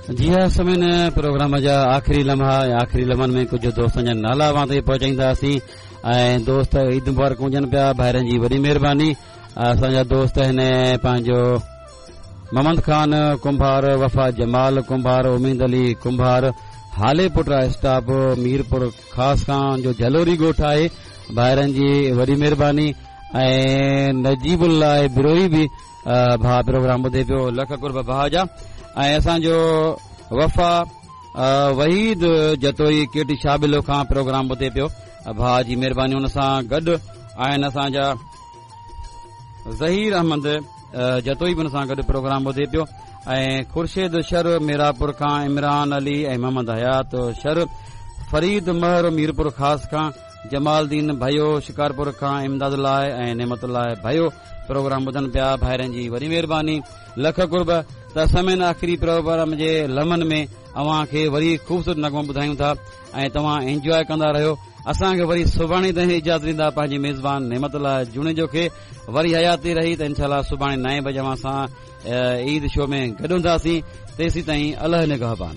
جي ها سامعين پروگرام جا آخري لمحا ۽ آخري لمحن ۾ ڪجهه دوستن جا نالا اوهان تائين پهچائينداسين ۽ دوست عيد مبارڪون ڏين پيا ڀائرن جي وڏي مهرباني اسان جا دوست هن پنهنجو محمد خان ڪنڀار وفا جمال ڪنڀار اميد علي ڪنڀار هالي پٽ اسٽاپ ميرپور خاص کان جو جهلوري ڳوٺ آهي ڀائرن جي وڏي مهرباني ۽ نجيب الله بروهي به ڀاء پروگرام ٻڌي پيو لک قرب ڀاء جا ۽ اسان جو وفا وحيد جتوئي ڪيٽي شابلو کان پروگرام ٻڌي پيو ڀاء جي مهرباني ان سان گڏ آهن اسان جا ظهير احمد جتوئي به ان سان گڏ پروگرام ٻڌي پيو ۽ خورشيد شر ميراپور کان عمران علي ۽ محمد حيات شر فريد مهر ميرپور خاص کان جمال الدين ڀيو شڪارپور کان امداد الله ۽ نعمت الله ڀيو پروگرام ٻڌن پيا ڀائرن جي وڏي مهرباني لک قرب ته سامعين آخري پروگرام جي لمحن ۾ اوهان کي وري خوبصورت نغمو ٻڌايون ٿا ۽ توهان انجواء ڪندا رهيو اسان کي وري سڀاڻي تائين اجازت ڏيندا پنهنجي ميزبان نعمت الله جوڻيجو کي وري حياتي رهي ته انشاء الله سڀاڻي نائين بجي اوهان سان عيد شو ۾ گڏ هونداسين تيسين تائين الله نگهبان.